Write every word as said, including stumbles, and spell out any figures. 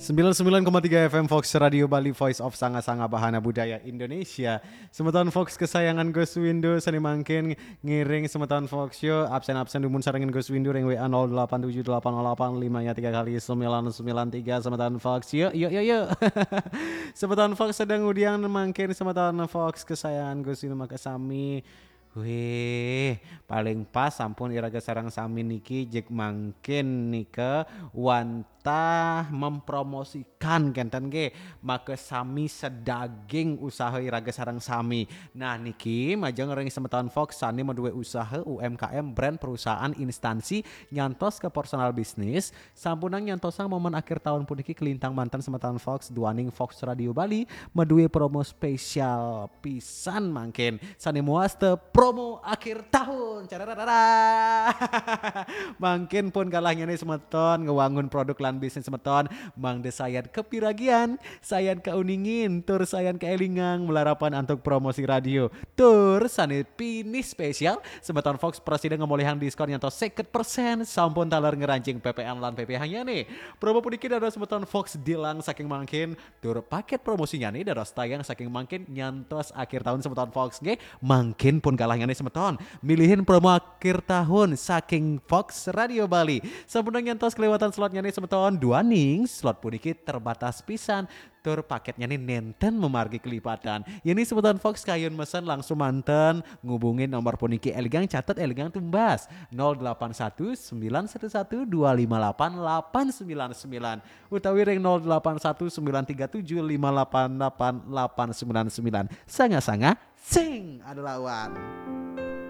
Sembilan sembilan koma tiga F M Fox Radio Bali, Voice of Sanga-Sanga Bahana Budaya Indonesia. Semeton Fox kesayangan Gus Windu, sane mangkin ngiring semeton Fox yo, absen-absen dumun sarengin Gus Windu ring W A nol delapan tujuh delapan delapan lima nya tiga kali sembilan sembilan tiga, semeton Fox yo, yo, yo, yo. Semeton Fox sedang udiang mangkin semeton Fox kesayangan Gus Windu makasami. Wih, paling pas sampun iraga sareng sami niki jeg mangkin nika wantah mempromosikan kenten nggih, maka sami sedaging usaha iraga sareng sami. Nah, niki majeng ring semeton Fox sane maduwe usaha U M K M, brand, perusahaan, instansi, nyantos ke personal bisnis, sampunang nyantosang momen akhir tahun puniki kelintang manten semeton Fox, duaning Fox Radio Bali maduwe promo spesial pisan mangkin. Sane muaste promo akhir tahun. Carararara. Mangkin pun kalahnyane semeton ngewangun produk lan bisnis semeton, mangda sayan kepiragian, sayan kauningin, tur sayan kaelingang malarapan antuk promosi radio. Tur sane pinih spesial, semeton Fox prasida ngemolihang diskon nyantos seket persen, sampun taler ngerancing P P N lan P P H-nyane. Promo puniki dados semeton Fox dilang saking mangkin, tur paket promosinyane dados tayang saking mangkin nyantos akhir tahun semeton Fox nggih. Mangkin pun kalahnyane semeton milihin promo akhir tahun saking Fox Radio Bali. Sampun nyantos kelewatan slotnyane semeton, duaning slot puniki terbatas pisan. Tur paketnyane nenten mamargi kelipatan. Yen semeton Fox kayun mesen langsung manten ngubungin nomor puniki, elingang catet, elingang tumbas, nol delapan satu sembilan satu satu dua lima delapan delapan sembilan sembilan utawi ring nol delapan satu sembilan tiga tujuh lima delapan delapan delapan sembilan sembilan. Sanga-sanga sing ada lawan.